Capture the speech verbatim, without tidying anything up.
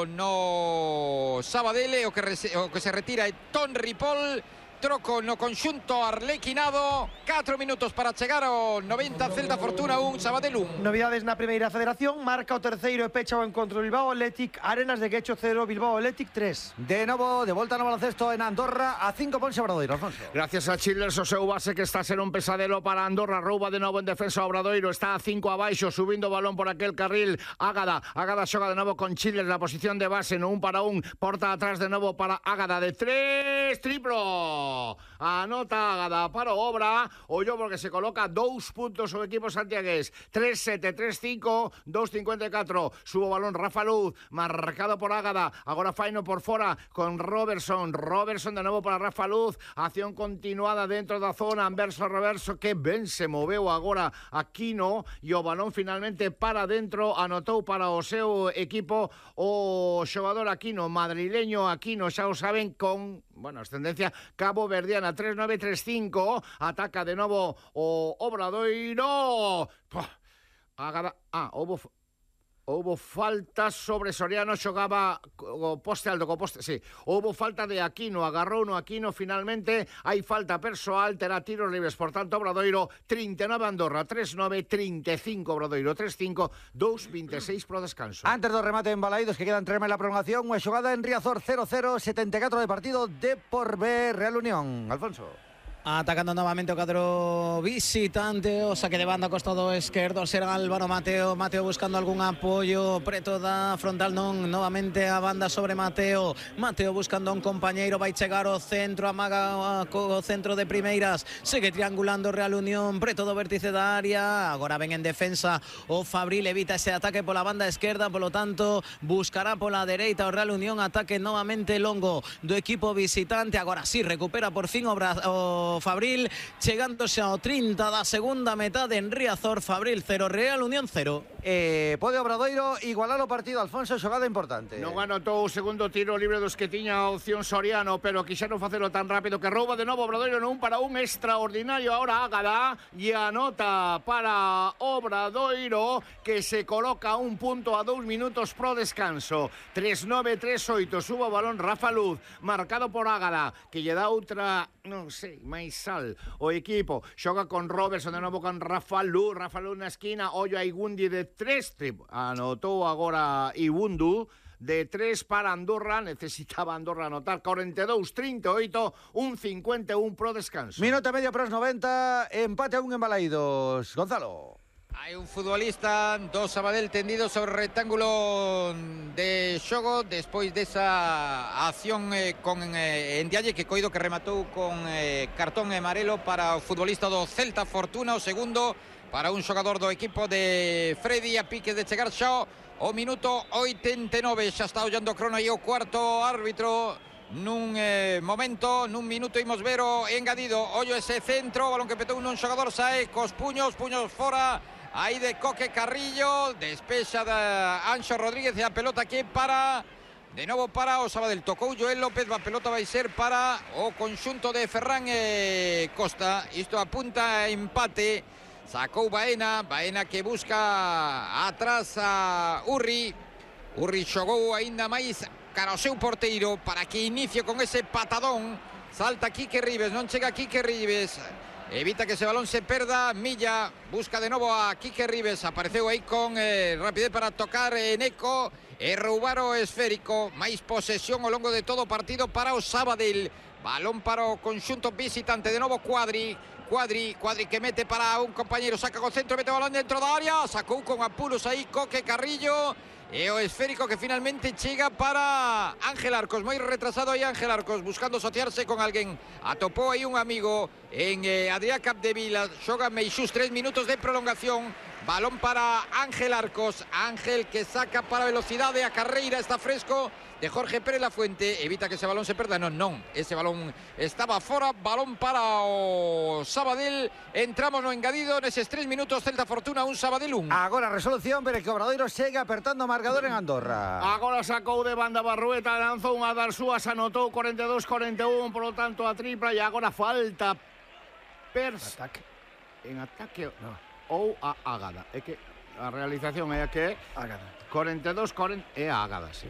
chegado no Sabadell, o que, rese, o que se retira é Ton Ripoll. Troco no conxunto arlequinado. catro minutos para chegar ao noventa. Celta Fortuna un, Sabadell un. Novidades na primeira federación. Marca o terceiro e pecha o encontro Bilbao Athletic. Arenas de Guecho cero, Bilbao Athletic tres. De novo, de volta no baloncesto en Andorra. A cinco ponse Obradoiro, Alfonso. Gracias a Childers, o seu base que está a ser un pesadelo para Andorra. Rouba de novo en defensa Obradoiro. Está a cinco abaixo, subindo o balón por aquel carril. Ágada, Ágada xoga de novo con Childers na posición de base, no un para un. Porta atrás de novo para Ágada de tres, triplo. Anota Ágada para Obra. Ollo porque se coloca dous puntos o equipo santiagués. tres sete, tres cinco, dos cincuenta e catro. Subo balón Rafa Luz, marcado por Ágada. Agora faino por fora con Robertson. Robertson de novo para Rafa Luz. Acción continuada dentro da zona. Anverso reverso, que ben se moveu agora Aquino. E o balón finalmente para dentro. Anotou para o seu equipo o xogador Aquino, madrileño Aquino, xa o saben, con, bueno, ascendencia cabo verdiana. Tres nueve, tres cinco. Ataca de novo o Obradoiro. Agada, ah, houbo houbo falta sobre Soriano, xogaba o poste alto, co poste, sí. Houbo falta de Aquino, agarrou no Aquino finalmente. Hai falta persoal, terá tiros libres, por tanto Obradoiro trinta e nove Andorra, tres nove, trinta e cinco Obradoiro, tres cinco, dos veintiséis pro descanso. Antes do remate en Balaídos, que quedan tres en la prolongación, unha xogada en Riazor cero cero, setenta e catro de partido, de por B, Real Unión. Alfonso. Atacando nuevamente o cadro visitante, o saque de banda costado esquerdo, será Álvaro Mateo. Mateo buscando algún apoyo, preto da frontal non, novamente a banda sobre Mateo. Mateo buscando a un compañeiro, vai chegar o centro, amaga o centro de primeiras, segue triangulando Real Unión, preto do vértice da área. Agora ven en defensa o Fabril, evita ese ataque pola banda esquerda, polo tanto buscará pola dereita o Real Unión. Ataque novamente longo do equipo visitante. Agora sí, recupera por fin o, o Fabril, chegándose ao trinta da segunda metade en Riazor. Fabril cero, Real Unión cero. Eh, pode Obradoiro igualar o partido, Alfonso, xogada importante. Non anotou o segundo tiro libre dos que tiña a opción Soriano, pero quixeron facelo tan rápido que rouba de novo Obradoiro no un para un extraordinario. Ahora Ágada e anota para Obradoiro, que se coloca un punto a dous minutos pro descanso. tres nove, tres oito, subo o balón Rafa Luz, marcado por Ágada, que lle dá outra, non sei, máis sal o equipo. Xoga con Robertson, de novo con Rafa Luz. Rafa Luz na esquina, ollo a Igundi de tres, anotou agora Ibundu de tres para Andorra. Necesitaba Andorra anotar. cuarenta y dos, treinta y ocho, un cincuenta y uno pro descanso. Minuto e medio pros noventa, empate a un en Balaídos. Gonzalo. Hai un futbolista do Sabadell tendido sobre o rectángulo de xogo despois desa acción eh, con eh, Ndiaye, que coido que rematou con eh, cartón amarelo para o futbolista do Celta Fortuna. O segundo para un xogador do equipo de Freddy, a pique de chegar xa o minuto oitenta e nove. Xa está ollando o crono aí o cuarto árbitro. Nun eh, momento, nun minuto imos ver o engadido. Ollo ese centro, balón que petou nun xogador, sae cos puños, puños fora. Aí de Coque Carrillo, despexa da Anxo Rodríguez e a pelota que para de novo para o Sabadell. Tocou Joel López, a pelota vai ser para o conxunto de Ferran e Costa. Isto apunta a empate. Sacou Baena, Baena que busca atrás a Urri. Urri xogou aínda máis cara ao seu porteiro para que inicie con ese patadón. Salta Quique Ribes, non chega Quique Ribes. Evita que ese balón se perda. Milla busca de novo a Quique Ribes. Apareceu aí con eh, rapidez para tocar en Eco e roubar o esférico. Mais posesión ao longo de todo o partido para o Sabadell. Balón para o conxunto visitante. De novo Cuadri. Cuadri, Cuadri que mete para un compañero. Saca con centro, mete o balón dentro da área. Sacou con apuros aí Coque Carrillo. E o esférico que finalmente chega para Ángel Arcos. Moi retrasado aí Ángel Arcos, buscando asociarse con alguén. Atopou aí un amigo en eh, Adrià Capdevila. Xoga Meixús, tres minutos de prolongación. Balón para Ángel Arcos. Ángel que saca para velocidade a carreira. Está fresco de Jorge Pérez Lafuente. Evita que ese balón se perda. Non, non. Ese balón estaba fora. Balón para o Sabadell. Entramos no engadido neses tres minutos. Celta Fortuna un, Sabadell un. Agora resolución, pero que Obradoiro segue apertando marcador en Andorra. Agora sacou de banda Barrueta, lanzou unha das súas, anotou cuarenta y dos, cuarenta y uno, por lo tanto a tripla, e agora falta pers... Ataque. En ataque no. Ou a Ágada. É que a realización é que Ágada. cuarenta y dos, cuarenta é a Ágada, sí.